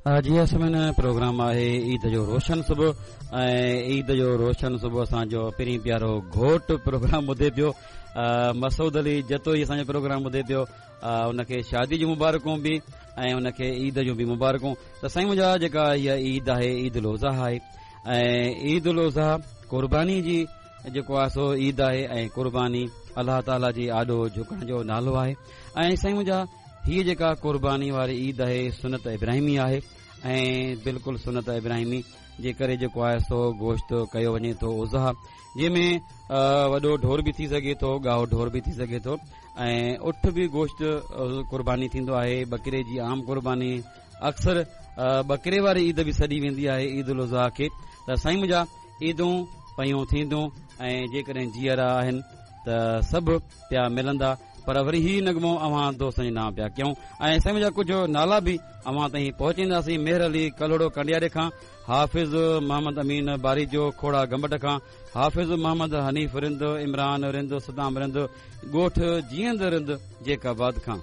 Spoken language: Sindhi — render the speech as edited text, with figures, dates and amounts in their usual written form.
جي ها سامعين پروگرام آهي عيد جو روشن صبح ۽ عيد جو روشن صبح اسان جو پرين پيارو گهوٽ پروگرام ٻڌي پيو مسعود علي جتوئي اسان جو پروگرام ٻڌي پيو ان کي شادي جون مبارڪون به ۽ ان کي عيد جون به مبارڪون ته سائين منهنجا جيڪا هيء عيد آهي عيد الاضحيٰ آهي ۽ عيد الاضحيٰ قرباني جي جيڪو آهي سو عيد آهي ۽ قرباني الله تعاليٰ جي آڏو جهڪڻ جو نالو آهي ۽ سائين منهنجا هيء جيڪا قرباني واري عيد آهي سنت ابراهيمي آهي ۽ بلڪل سنت ابراهيمي جي ڪري جيڪو آهي سو گوشت ڪيو وڃي ٿو اضحيٰ جنهن ۾ وڏو ڍور به ٿي سگهي ٿو ڳائو ڍور به ٿي سگهي ٿو ۽ اٺ به گوشت قرباني ٿيندو آهي ٻڪري جي عام قرباني اڪثر ٻڪري واري عيد به سڏي ويندي آهي عيد الاضحيٰ کي ته سائين منهنجا عيدون پيون ٿينديون ۽ جيڪڏهن جيئرا آهن ته سڀ پيا ملندا پر وري هي نغمو اوهان دوستن جي نانء پيا ڪيون ۽ سائين منهنجا ڪجهه نالا به اوهان تائين پهچائينداسين مهر علي ڪلهوڙو ڪنڊياري کان حافظ محمد امين باريجو کوڙا گمبٽ کان حافظ محمد حنيف رند عمران رند صدام رند ڳوٺ جيئند رند جيڪب آباد کان.